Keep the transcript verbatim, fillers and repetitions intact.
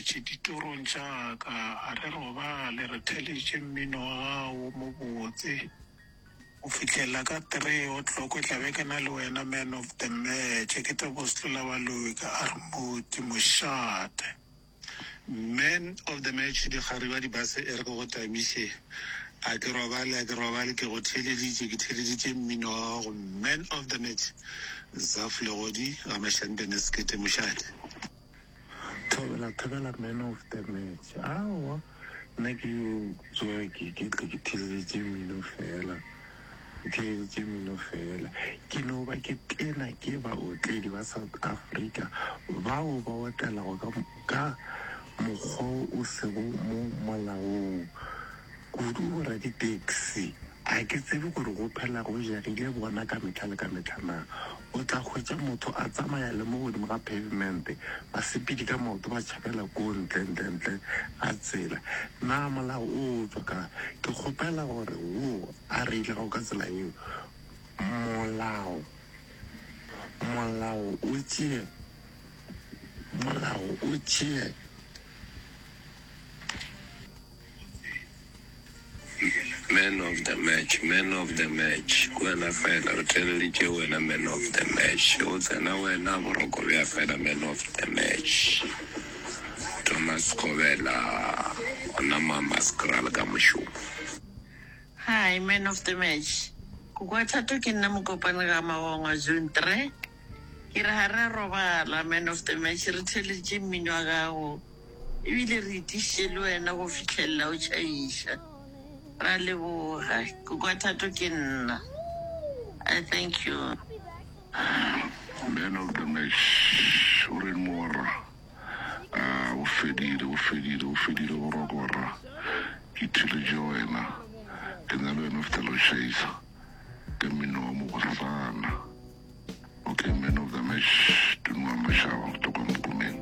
match ditorong tša ka a re robale re theletše mmino wa gago mo botse go fihlela ka three o'clock tla be ke na le wena man of the match ke tebo setlola baloi ka armoti mošate Man of the match dikgariba dibase e re ke go tamiše a ke robale a ke robale ke go theeleditše ke theeleditše mmino wa gago man of the match zaf legodi ga mašantene sekete mošate thobela thobela man of the match aowa nna ke yo tsoge ke ke tle ke theeleditše mmino fela ke theeleditše mmino fela ke no ba ke tena ke baotledi ba south africa bao ba otlelago ka ka mokgwa o sego mo molaong kudu boraditekisi a ke tsebe gore go phela go jagile bona ka metlha le ka metlha na o tla hwetša motho a tsamaya le mo godimo ga pavement basepedi ka maoto ba tšhabela ko ntle ntle ntle ga tsela na molao o tswa ka ke kgopela gore wo a re ile gago ka tsela yeo molao molao o tšee molao o tšee Man of the match, man of the match, ke wena fela re theeleditše wena man of the match, go tsena wena boroko bja fela man of the match. Thomas Kgobela gona Mamaskral ka mošomo. Hi, man of the match. Koko Thato ke nna Mokopane ga Magongwa Zone three. Ke re ga re a robala man of the match re theeleditše mmino wa gago ebile re itišitše le wena go fihlelela o tšhaiša. Ra leboga. Koko Thato ke nna. I thank you. Man of the match o reng morra a bo fedile bo fedile bo fedile boroko borra ke theletše wena ke na le wena o fihlela o tšhaisa ka mmino wa mobosana